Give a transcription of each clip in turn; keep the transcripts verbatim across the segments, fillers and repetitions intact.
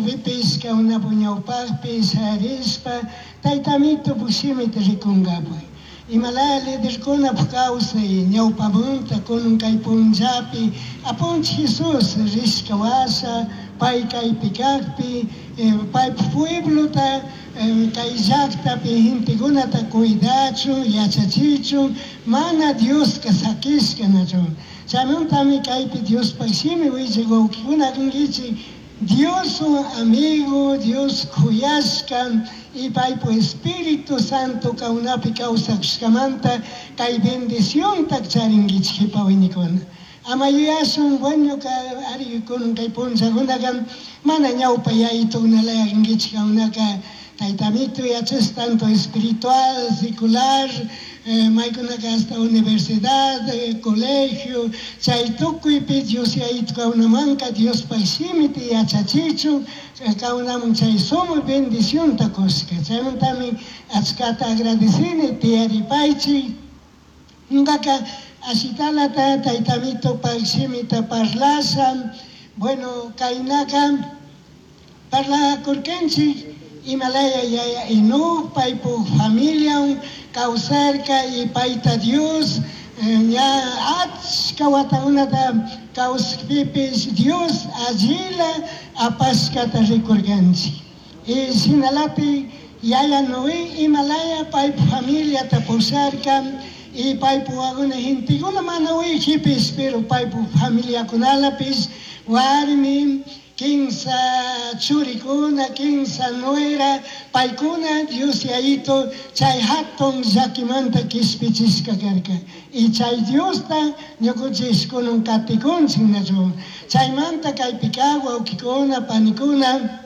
tiempopipish kankunapak ñawpakpi shayarishpa Taytamito shimita rikunkapak. Imalaya liderkunapak kawsay ñawpamunta kunan kay punllapi Apunchik Jesus rishka washa pay kaypi kakpi paypak pueblota kay llaktapi gentekunata cuidachun yachachichun mana Dioska sakishka nachu. Chaymantami kaypi Diospak shimi willak wawkikuna kankichik Dios amigo, Dios kuyashka y paypak Espíritu Santo kankunapi kawsakushkamanta kay bendicionta charinkichik jipa wiñaykuna. Ama yuyashun bueno ari kunan kay punllakunaka mana ñawpa yayitukunalaya kankichik kankunaka Taytamito yachash tanto espiritual, secular, maykunaka hasta universidad, colegio, chay tukuypi Dios yayitu kankunamanka Diospak shimita yachachichun kankunaman chay sumak bendicionta kushka. Chaymantami achkata agradecini tiyaripaychik. Ñukaka ashitalata Taytamitopak shimita parlasha, bueno, kaynaka parlakurkanchik imalaya yaya Enoc paypuk familia kawsarka y payta Dios ña achka watakunata kawsakpipish Dios allila apashkata rikurkanchik. Y shinalatik yaya Noé imalaya paypuk familiata pusharka y paypuk wawakuna gentekuna mana uyakpipish pero paypuk familiakunalapish warmi kinsa churikuna, kinsa nuera, paykuna Dios yayito chay hatun llakimanta kishpichishka karka. Y chay Diosta ñukanchik kunan katikunchik nachu. Chaymanta kaypi kaq wawkikuna, panikuna,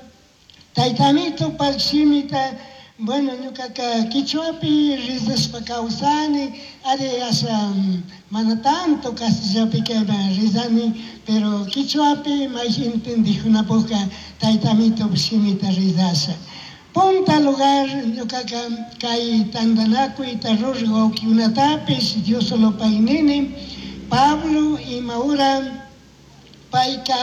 Taytamitopak shimita, bueno, ñukaka quichuapi rizashpa kawsani, ari asha mana tanto castellapika rizani, pero quichuapi may entendijunapukka Taytamito shimita rizasha. Punta lugar ñukaka kay tantanakuyta ruraq wawkikunatapish Dios solo nini, Pablo imahora payka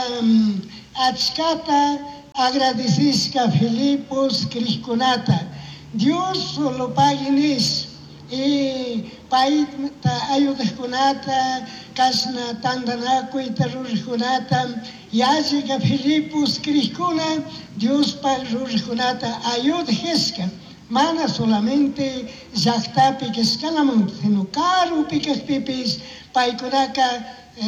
achkata agradecishka Filipos krikkunata. Dios solo pagui nish y payta ayudaqkunata kashna tantanakuyta ruraqkunata yallika Filipos krikkuna Diospaq ruraqkunata ayudajishka. Mana solamente llaktapi kashkalamanta, sino karupi kashpipish paykunaka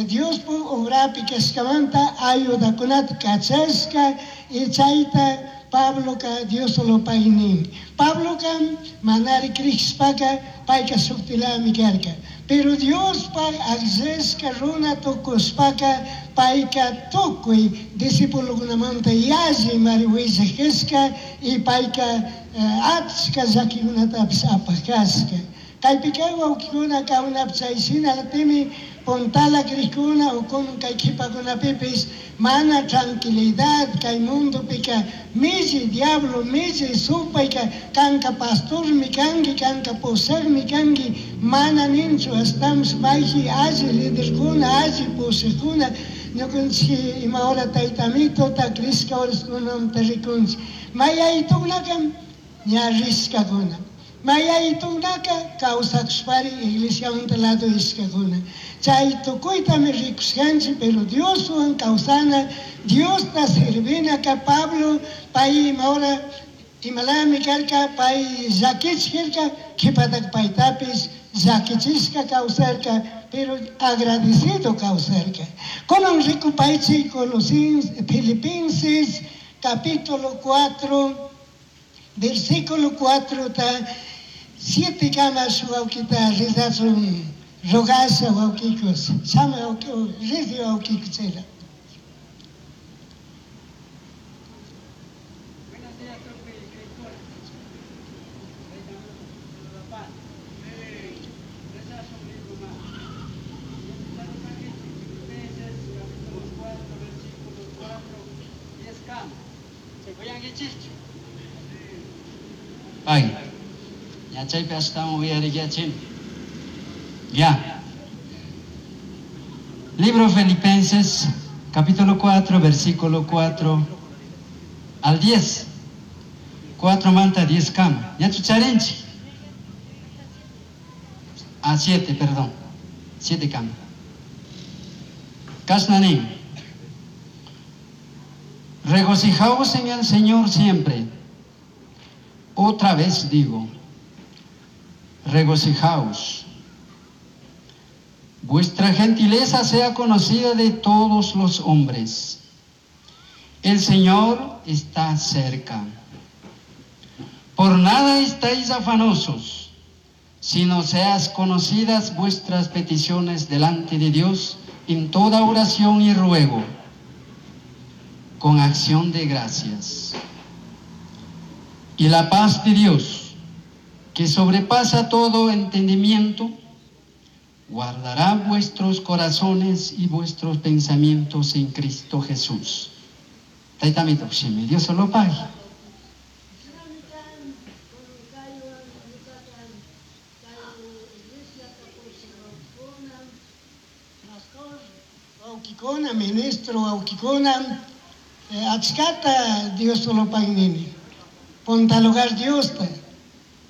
Diospuk obrapi kashkamanta ayudakunata kachashka y chayta Pabloka Dios solo pagui nin. Pabloka manari krishpaka payka shuktilami karka. Pero Diospaq akllashka runa tukushpaka payka tukuy discípulokunamanta yalli mari willakashka y payka achka llakikunatapish apakashka. Kaypika wawkikuna kankunapish chay shinalapimi puntala krikuna ukun kay kipakunapipish mana tranquilidad kay mundopika milli diablo milli supayka kanka pastormi kanki kanka pushakmi kanki mana ninchu ashtawanpish mayji alli liderkuna alli pushakuna ñukanchik ima hora Taytamitota krishka horaskunamanta rikunchik mayaytukunaka ña rishkakuna. Mayaytukunaka kawsakushpari iglesiamanta lado ishkakuna. Chay tukuytami rikushkanchik, pero Dioswan kawsana, Diosta servinaka Pablo pay ima hora imalami karka pay llakichirka qhipataka paytapish llakichishka kawsarka, pero agradecido kawsarka. Kunan rikupaychik Colosenses, Filipenses capítulo cuatro, versículo cuatro ta siete kama shuk wawkita rizachun rogasha wawkikus shamuy wawki rizi wawkiku chayla. Buenos días, tukuy krikkuna. Rezashun libroma. Filipenses capítulo cuatro, versículo cuatro, diez kama. Uyankichikchu? Ay, ya chaypi ashtawan uyariyachin. Ya. Libro Filipenses, capítulo cuatro, versículo cuatro Al diez. Cuatro manta diez kama. Ñachu charinchik. A siete, perdón. Siete kama. Kashna nin. Regocijaos en el Señor siempre. Otra vez digo, regocijaos. Vuestra gentileza sea conocida de todos los hombres. El Señor está cerca. Por nada estáis afanosos, sino seas conocidas vuestras peticiones delante de Dios en toda oración y ruego, con acción de gracias. Y la paz de Dios, que sobrepasa todo entendimiento, guardará vuestros corazones y vuestros pensamientos en Cristo Jesús. Taytamito, Dios solo pague. Wawkikuna, ministro wawkikuna, achkata Dios solo pagnini. Punta lugar Diosta.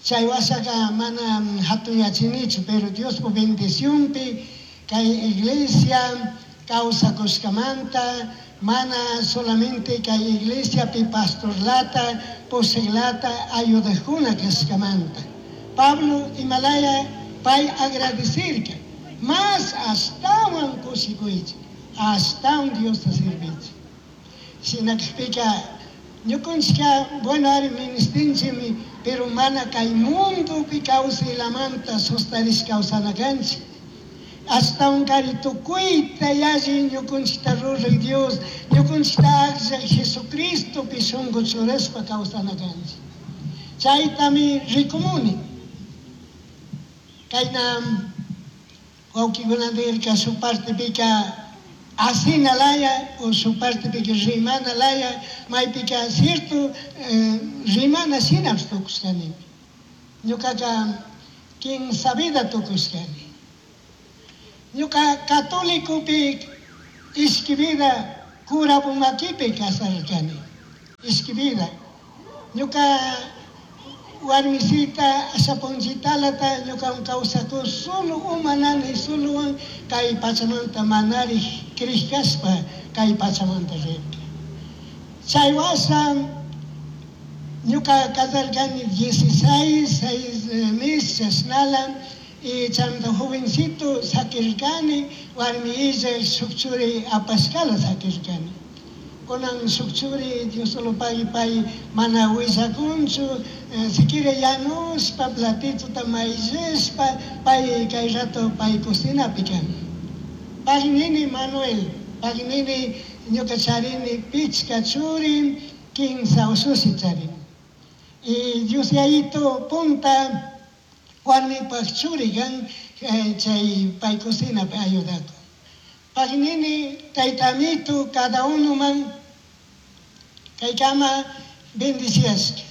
Chay washaqa mana hatuyachinichu, pero Diospa bendicionpi kay iglesia kawsakushkamanta, mana solamente kay iglesiapi pastorlata, pushaqlata ayudaqkuna kashkamanta. Pablo imalaya pay agradecirka, mas ashtawan kushikuychik, ashtawan Diosta sirvichik. Shinakpika ñukunchika, bueno, ari ministinchimi, pero mana kay mundopi kawsaylamanta sustarish kawsana kanchik. Ashtawan kari tukuyta yalli ñukunchikta ruraq Dios, ñukunchikta akllaq Jesucristopi shunqu churashpa kawsana kanchik. Chaytami rikumuni. Kayna wawkikuna nirka shuk partepika asina laya o shuk partepika rimana laya, maypika cierto eh, rimana shinapish tukushkanimi. Ñukaka kinsa vida tukushkani. Ñuka católicopi ishki vida cura makipi kasarkani. Ishki vida. Ñuka warmisita ashapunchitalata ñuka kawsaku solo umanani solo kay pachamanta manari krishkashpa kay pachamanta rirka. Chay washa ñuka kasarkani dieciséis, seis meses chashnala, y chaymanta jovencito sakirkani, warmi illa shuk churi apashkala sakirkani. Kunan shuk churi Dios solo pagui pay mana willakunchu, eh, siquiera yanushpa platituta mayllishpa pay kay rato pay cocinapi kan. Pagnini Manuel, pagnini ñuka charini pichka churi, kinsa usushi charini. Y Dios yayito punta warmipaj churi kan, eh, chay pay cocinapi ayudakun. Pagnini taytamito cada uno man kaykama bendiciashka.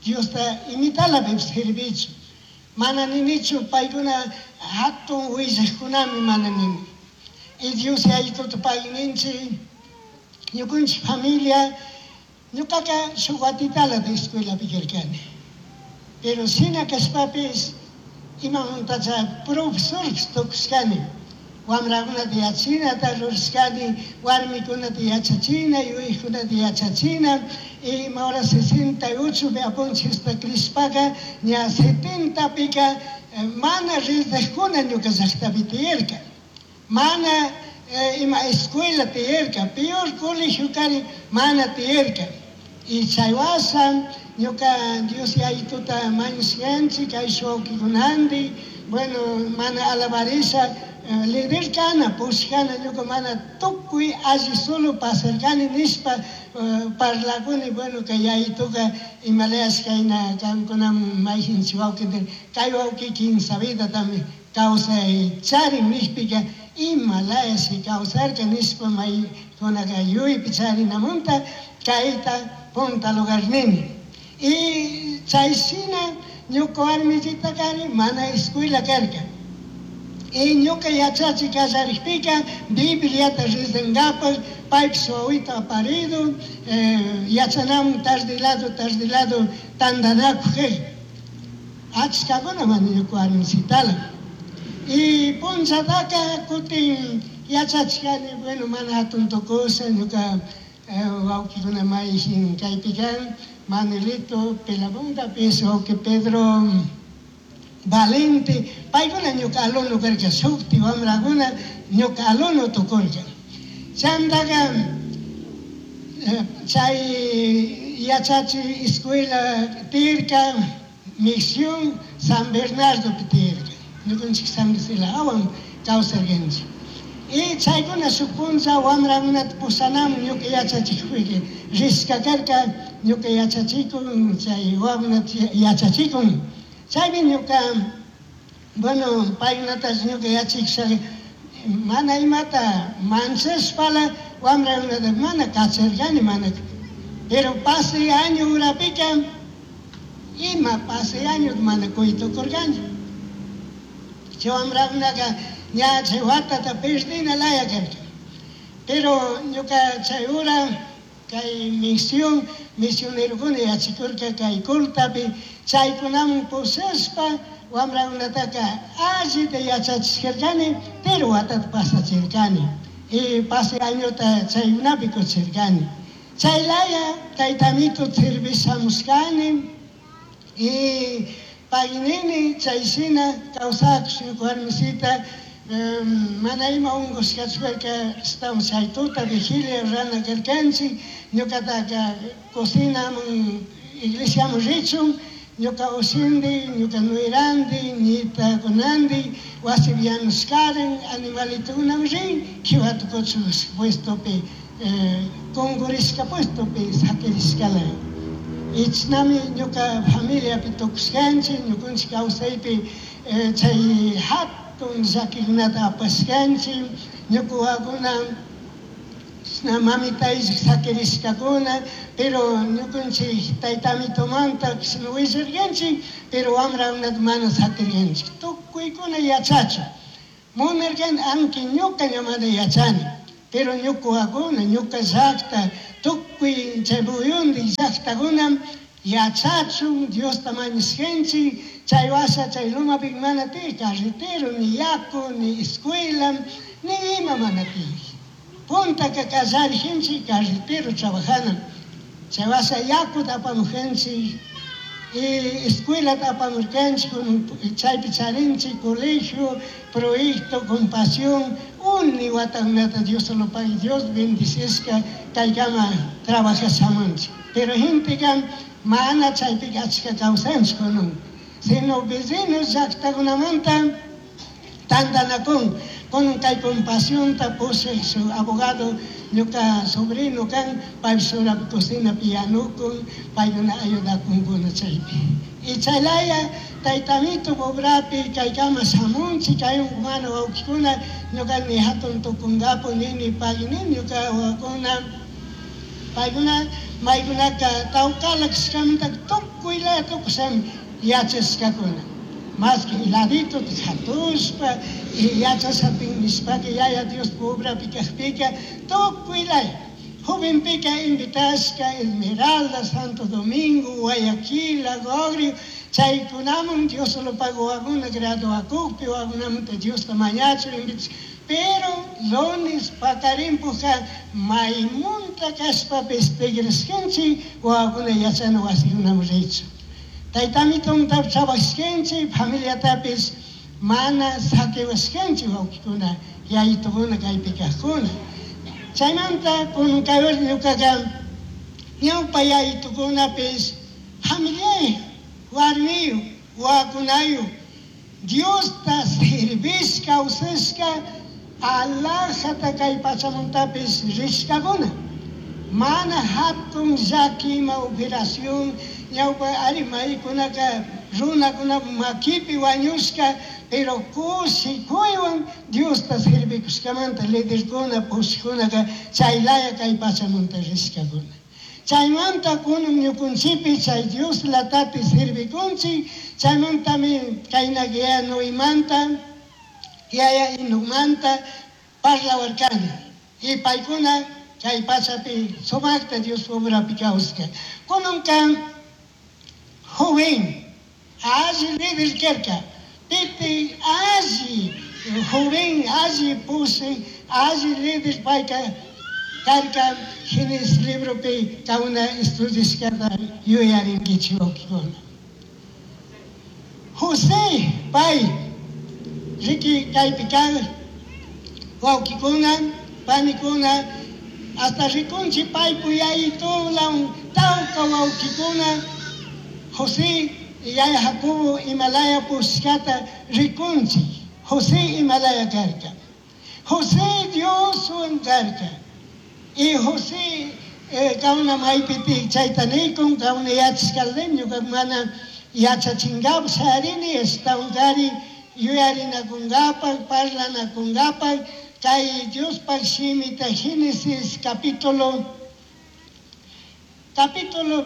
Diosta imitala servichu. Mana ninichu paykuna hatun willaqkunami mana nini. Y Dios yayituta pagninchik, ñukunchik familia, ñukaka shuk watitala de escuelapi karkani. Pero shina kashpapis imamantacha profesorpis tukushkani. Wamrakunata yachinata rurashkani, warmikunata yachachina, yuyaqkunata yachachina, y ima hora sesenta y ocho apunchista krishpaka, ña setenta pika mana rizaqkuna ñuka llaqtapi tiyarka. Mana eh, ima escuela tiyarka, peor colegio kari mana tiyarka. Y chay washa ñuka Dios yayituta mañashkanchik, kay wawqikunanti, bueno, mana alabarisha, eh, líder kana, pushkana, ñuka mana tukuy alli solo pasarkani nishpa, eh, parlakuni, bueno, kay yayituka imalayash kayna kankunaman mayjinchik wawqi, kay wawqi kinsa vidatami kawsay charin nishpika, imalayash kawsarka nishpa maykunaka yuypi charinamunta kayta punta lugar nini. Y chay shina ñuka warmisita kari mana escuela karka. Y ñuka yachachi kallarikpika Bibliata rizankapaj Paypish wawita aparido, eh, yachanamun tarde lado, tarde lado, tandanakuj achkakuna mana ñuka warmisitala. Y punllataka kutin yachachkani, bueno, mana hatun tukusha ñuka eh, wawkikuna mayjin kaypi kan, Manuelito Pelabundapish, wawki Pedro Valente, paykuna ñuka alumno karka, shukti wamrakuna ñuka alumno tukurka. Chantaka eh, chay yachachi escuela tirka, Misión San Bernardo tirka, ñukanchik San Vicente hawan kawsarkanchik. Y chaykuna shuk punlla wamrakunata pushanamun ñuka yachachikpika rishka karka, ñuka yachachikun, chay wawakunata yachachikun. Chaymi ñuka, bueno, paykunatash ñuka yachachishaka mana imata manchashpala wamrakunata mana kacharkani, mana. Pero pase año urapika, ima pase año mana kuytukurkani. Chay wamrakunaka ña chay watata perdina laya karka. Pero ñuka chay ura kay misión, misionerokuna yachakurka kay Coltapi, chaykunaman pushashpa wamrakunataka allita yachachishkarkani, pero watata pasachirkani. Y pase añota chaykunapi kuchirkani. Chay laya taytamito servishamushkani y paginini chay shina kawsakush ñuka warmisita, um, mana ima unkushkachpaka estamos chay tuta vigilia rurana karkanchik, ñukataka cocinaman iglesiaman richun, ñuka ushindi, ñuka nuirandi, ñitakunandi, wasipi yanushkarin, animalitukunaman rin, kiwata kuchush puestopi, eh, kungurishka puestopi sakirishkala. Ichnami ñuka familiapi tukushkanchik, ñukanchik kawsaypi, eh, chay hatun llakikunata apashkanchik, ñuka wawakuna chashna mamita ishak sakirishkakuna, pero ñukanchik taytamitumanta chashna willarkanchik, pero wamrakunata mana sakirkanchik. Tukuykuna yachachun. Munarkani, aunque ñuka ña mana yachani, pero ñuka wawakuna, ñuka llakta, tukuy chay muyundik llaktakuna yachachun, Diosta mañashkanchik, chay washa chay lumapi mana tiyak carretero, ni yaku, ni escuela, ni ima mana tiyak. Puntaka kallarijinchik carretero trabajana. Chay washa yakuta apamujanchik, y escuelata apamurkanchik, chaypi charinchik, colegio, proyecto, compasión, uni watakunata Dios lo pague, Dios bendicishka kaykama trabajashamunchik. Pero genteka mana chaypika achka kawsanchik kunan, sino vecinos llaktakunamanta tantanakun, kunan kay compasionta pushak su abogado ñuka sobrino kan, paypish urapi cocinapi yanukun, paykuna ayudakunkuna chaypi. Y chaylaya taytamito pobrapi kaykama shamunchik, kay mana wawkikuna, ñuka ni hatun tukunkapu nini pagui nini ñuka wawakuna, paykuna maykunaka tawkala kashkamanta tukuylaya tukushami yachashkakuna. Más que ladito hatushpa y yachashapin nishpaka yaya Dios pobrapi kajpika tukuylaya. Jovenpika invitashka Esmeralda, Santo Domingo, Guayaquil, Agogrio, chaykunaman Dios solo pagó wawakuna graduakukpi, wawakunamanta Diosta mañachun invitashka. Pero lunes pakarimpuja maymunta kashpapis tigrashkanchik wawakuna yachana wasikunaman richun. Taytamitunta trabajashkanchik, familiatapis mana sakiwashkanchik wawkikuna, yayitukuna kaypi kajkuna. Chaymanta kunan kay ñukaka ñawpa yayitukunapis familiayuq, warmiyuq, wawakunayuq, Diosta servishka kawsashka alajata kay pachamuntapis rishkakuna. Mana hatun llaki ima operación ñawpa ari maykunaka runakuna makipi wañushka, pero kushikuywan Diosta servikushkamanta liderkuna pushkunaka chaylaya kay pachamunta rishkakuna. Chaymanta kunan ñukunchikpi chay Dios latati servikunchik, chaymantami kayna yaya Noemanta, yaya Enocmanta parlawarkani. Y paykuna Kay pachapi sumaqta Dios obrapi kawsqa. Kunanka joven alli líder karka. Piti alli joven alli puse alli líder payka karka Génesis libropi kauna estudiashkata yuyarinkichik wawqikuna. José pay riki kaypi kan wawqikuna panikuna hasta rikunchik paypu yayitulan tawka wawqikuna José yaya Jacobo Himalaya pushkata rikunchik. José Himalaya karka. José Dioswan karka. Y José kauna maypiti chayta nikun kauna yachashkalden ñuka mana yachachinkapak sharini ashtawankari yuyarinakunkapak parlanakunkapak kay Diospaq shimita Génesis capítulo capítulo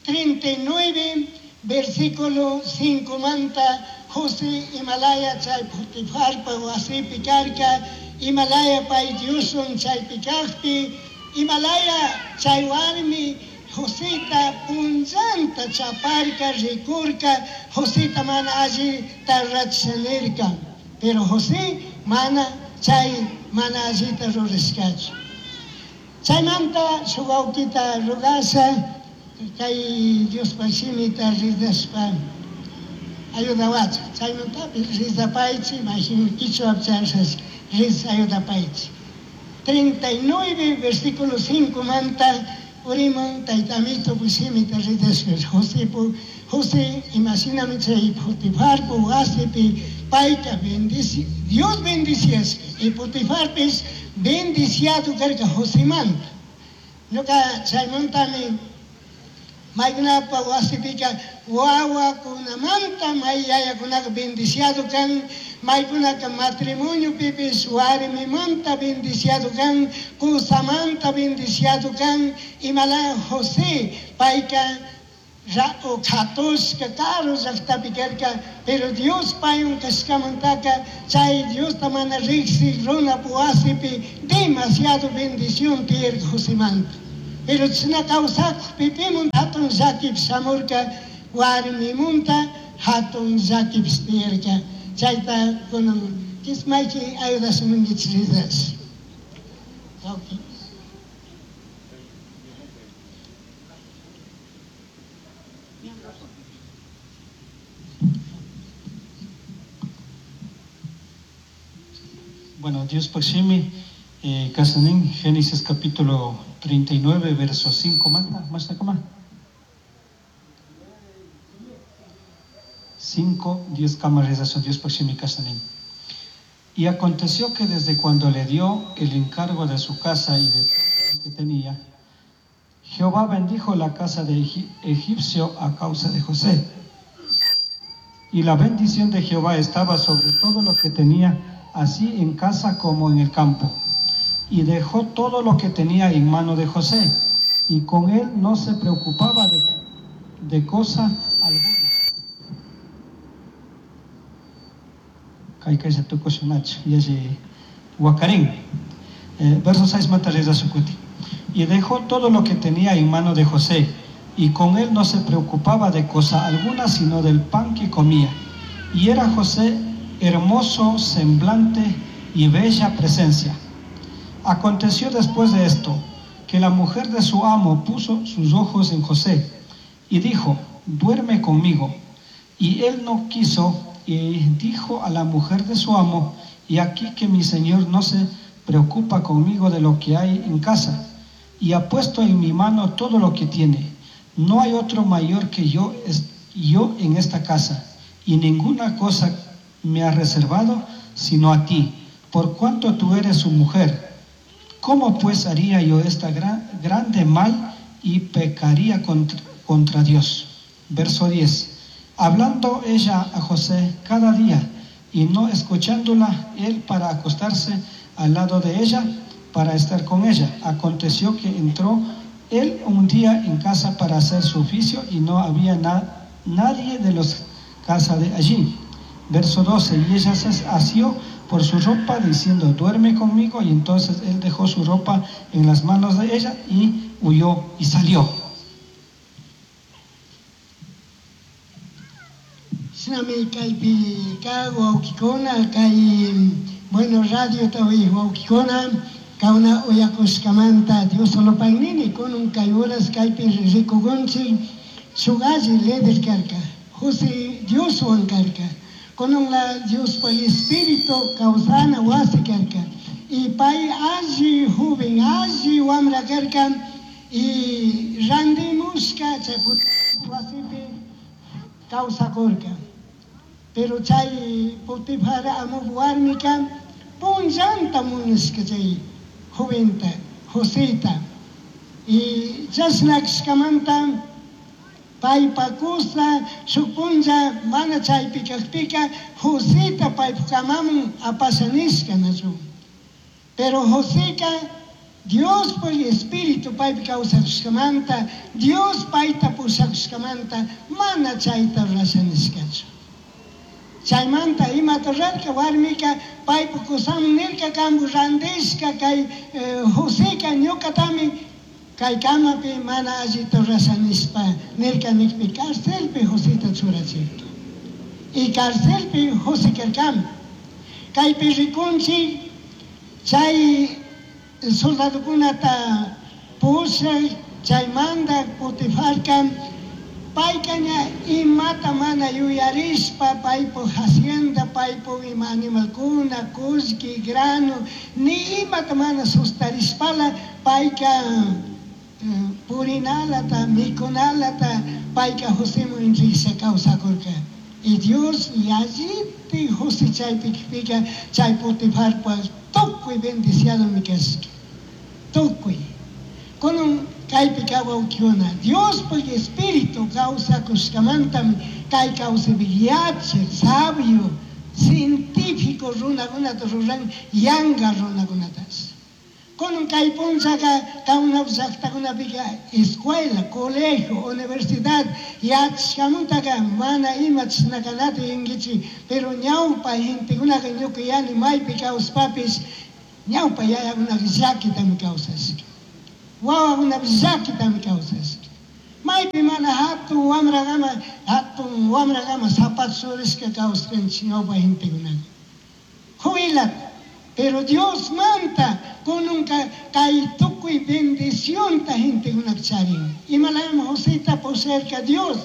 treinta y nueve versículo cinco manta José Himalaya chay Potifarpa wasipi karka Himalaya pay Dioswan chaypi kaqpi Himalaya chay warmi Joseta punllanta chaparka rikurka Joseta mana allita rurasha pero José mana chay mana allita rurashkachu. Chaymanta shuk wawqita rugasha kay Diospa shimita ridashpa ayudawachu. Chaymantapis rizapaychik mayhin kichwapi chayashash riz ayudapaychik. treinta y nueve versículo cinco manta uriman taytamito shimita ridashpa Josepu José imashinami chay Potifarpu wasipi payka bendici Dios bendiciashka y Potifarpis bendiciado karka Josemanta. Ñuka chaymantami maykunapa wasipika wawakunamanta may yayakunaka bendiciado kan maykunaka matrimonio pipis warmimanta bendiciado kan kusamanta bendiciado kan imalaya José payka katushka karu llaqtapi karka pero Dios paywan kashkamantaka chay Diosta mana riqsiq runap wasipi demasiado bendición tiyarka Josemanta. Pero chashna kawsakuqpi pimun hatun llakipi shamurka warmimunta hatun llakipish tiyarka. Chayta kunan kismayki ayudashamunkichik ridash. Okay. Bueno, Dios Paximi, eh, Casanín, Génesis capítulo treinta y nueve, verso cinco, manta, más acá. cinco, diez cámaras, Dios Paximi, Casanín. Y aconteció que desde cuando le dio el encargo de su casa y de todo lo que tenía, Jehová bendijo la casa de Egipcio a causa de José. Y la bendición de Jehová estaba sobre todo lo que tenía, así en casa como en el campo. Y dejó todo lo que tenía en mano de José, y con él no se preocupaba de, de cosa alguna. Verso seis, Y dejó todo lo que tenía en mano de José, y con él no se preocupaba de cosa alguna, sino del pan que comía. Y era José hermoso semblante y bella presencia. Aconteció después de esto, que la mujer de su amo puso sus ojos en José, y dijo: duerme conmigo. Y él no quiso, y dijo a la mujer de su amo: y aquí que mi señor no se preocupa conmigo de lo que hay en casa, y ha puesto en mi mano todo lo que tiene. No hay otro mayor que yo, yo en esta casa, y ninguna cosa me ha reservado sino a ti, por cuanto tú eres su mujer. ¿Cómo pues haría yo esta gran, grande mal y pecaría contra, contra Dios? Verso diez. Hablando ella a José cada día y no escuchándola él para acostarse al lado de ella, para estar con ella. Aconteció que entró él un día en casa para hacer su oficio y no había na nadie de los casa de allí. Verso doce. Y ella se asió por su ropa, diciendo, duerme conmigo. Y entonces él dejó su ropa en las manos de ella y huyó y salió. Shinami kaypi kag wawkikuna kay bueno radio tawi wawkikuna kauna uyakushkamanta Dios solo pagnini kunun kay horas kaypi rikukunchik shuk alli líder karka José Dioswan karka kunun la Diospa espíritu kawsana wasi karka y pay alli joven alli wamra karka y randimushka chay wasipi kawsakurka. Pero chay Potifar amup warmika punllanta munashka chay joventa Joseta y chashna kashkamanta paypa kusa shuk punlla mana chaypi kajpika Joseta paypa kamaman apasha nishka nachu. Pero Joseka Diospa espíritu paypi kawsakushkamanta Dios payta pushakushkamanta mana chayta rurasha nishkachu. Chaymanta imata rurarka warmika paypa kusaman nirka kampu randishka kay Joseka ñukatami kay kamapi mana allita rurasha nishpa nirka nikpi carcelpi Joseta churachirka. Y carcelpi José karkami. Kaypi rikunchik chay soldadokunata pushak chaymanta Potifarka payka ña imata mana yuyarishpa paypuk hacienda paypuk ima animalkuna kullki grano ni imata mana sustarishpala payka purinalata mikunalata payka Joseman entregasha kawsakurka. Y Dios yalliti José chaypi kipika chay Potifarpa tukuy bendiciadomi kashka tukuy. Kunun kaypi kawawkikuna Diospuk espíritu kawsakushkamantami kay kawsaypi yachak sabio científico runakunata ruran yanka runakunatash. Kunun kay punllaka kawna llaktakunapika escuela, colegio, universidad yachashkamantaka mana ima chashnakanata yuyaykichik, pero ñawpa gentekunaka ñuka yani maypi kawspapish ñawpa yayakunaka llakitami kawsashka. Wawakunapish llakitami kawsashka. Maypi mana hatun wamrakama hatun wamrakama zapato churashka kawsaskanchik ñawpa gentekunaka. Jubilata. Pero Dios manta kununka kay tukuy bendicionta gentekunaka charin. Imalayami Joseta pusharka Dios.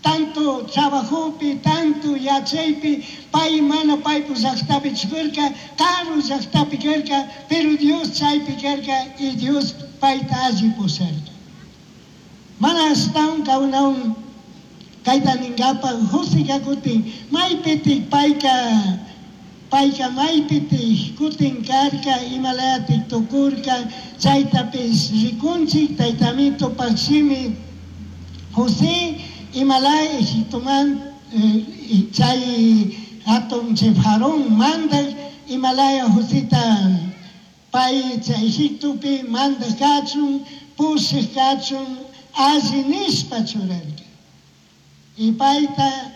Tanto trabajopi, tanto yachaypi, pay mana paypu llaktapi chukurka, karu llaktapi karka, pero Dios chaypi karka y Dios payta alli pusharka. Mana ashtawan kawnawan kayta ninkapa Joseka kutin maypitik payka payka maypitik kutin karka imalayatik tukurka chaytapish rikunchik taytamitupak shimi José imalaya Egiptoman chay hatun chay Faraón mandak imalaya Joseta pay chay Egiptopi mandak kachun pushak kachun alli nishpa churarka. Y payta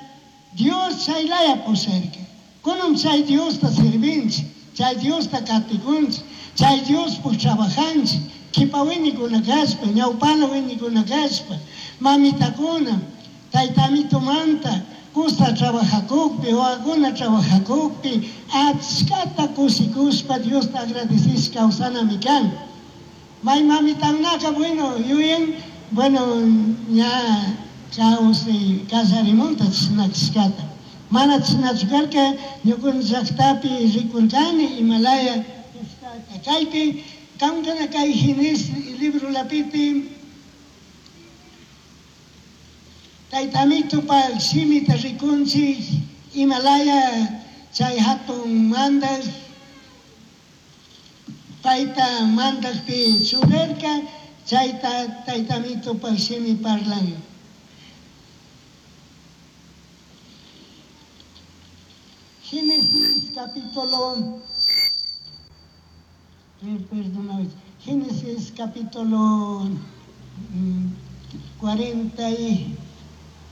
Dios chaylaya pusharka. Kunun chay Diosta sirvinchik, chay Diosta katikunchik, chay Diospuk trabajanchik, kipa wiñikuna kashpa, ñawpala wiñikuna kashpa, mamitakuna, taytamitumanta kusa trabajakukpi, wawakuna trabajakukpi, achkata kushikushpa Diosta agradecishpa kawsanami kan. May mamitakunaka bueno yuyan, bueno ña kawsay kallarimunta chashna kashkata. Mana chashnachu karka ñukanchik llaktapi rikurkani imalaya kashkata. Kaypi kankana kay Génesis librolapiti taytamitupak shimita rikunchik imalaya chay hatun mandak payta mandakpi churarka chayta taytamitupak shimi parlan. Génesis capítulo, perdón, Génesis capítulo cuarenta y